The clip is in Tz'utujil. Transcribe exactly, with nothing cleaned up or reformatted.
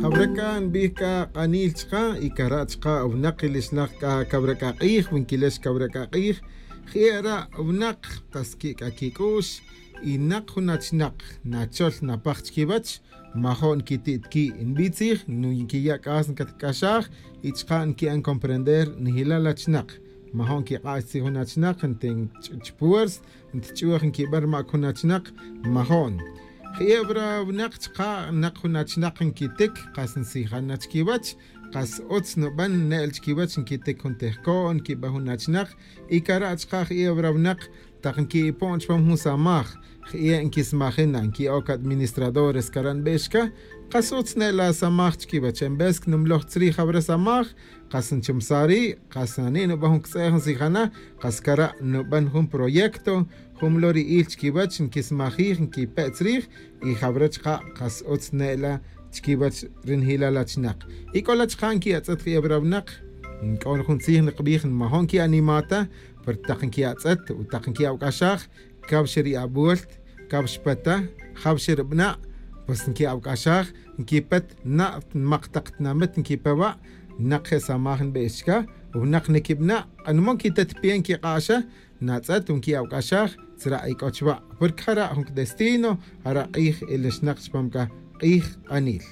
Jawra c'a nbij c'a k'anil chka' y cara' chka' winak ilixinak c'a cawra c'a k'ij wi nquilex cawra c'a k'ij. Je'e' ra' winak kas qui' c'a quic'u'x y nak jun achinak nachol napaj chiquiwech, majo' nquiti' tiqui' nbi' tzij nquiya' c'as ncatc'axaj y chka' nqui'an comprender njilal achinak. Majo' nquik'ax tzij jun achinak nti nch'uch puers ntich'uj nquiban rmac jun achinak. Majo'n je'e' wra winak chka' nak jun achinak nquitic kas nsijan na chiquiwech. Kas utz nuban ne'l chiquiwech nquitic jun tejco'n nquiban jun achinak. Y cara' chka' je'e' wra winak tak nqui'ipon chupam jun samaj je'e' nquismajin na nqui'oc administradores cara' nbix ca. Kas utz ne'l asamaj chiquiwech en vez cnumloj tzrij jawra samaj. Kas nchumsaj ri' kas nani' nuban jun ctz'e'j nsijana. Kas cara' nuban jun proyecto jun mlo ri'il chiquiwech nquismajij nquipe' tzrij. Y jawra chka' kas utz ne'la chiquiwech ri njilal achinak. Y c'o la chka' nqui'atz'et je'e wra winak nc'o jun tzij nkbij nmajo' nqui'anima ta. Pero tak nqui'atz'et o tak nqui'awc'axaj cawxa ri abuelt cawxa peta jawxa ri bna'. Pues nqui'awc'axaj nquipet na' nmak tak tinamit nquipe wa'. Nak je' samaj nbix chca winak niquibna' k'anmo nquitet pi'e nquik'a'xa. Natz'et nqui'awc'axaj tzra' ic'o chwa' porque jara' jun cdestino. Jara' k'ij ilixnak chupam c'a k'ij k'anil.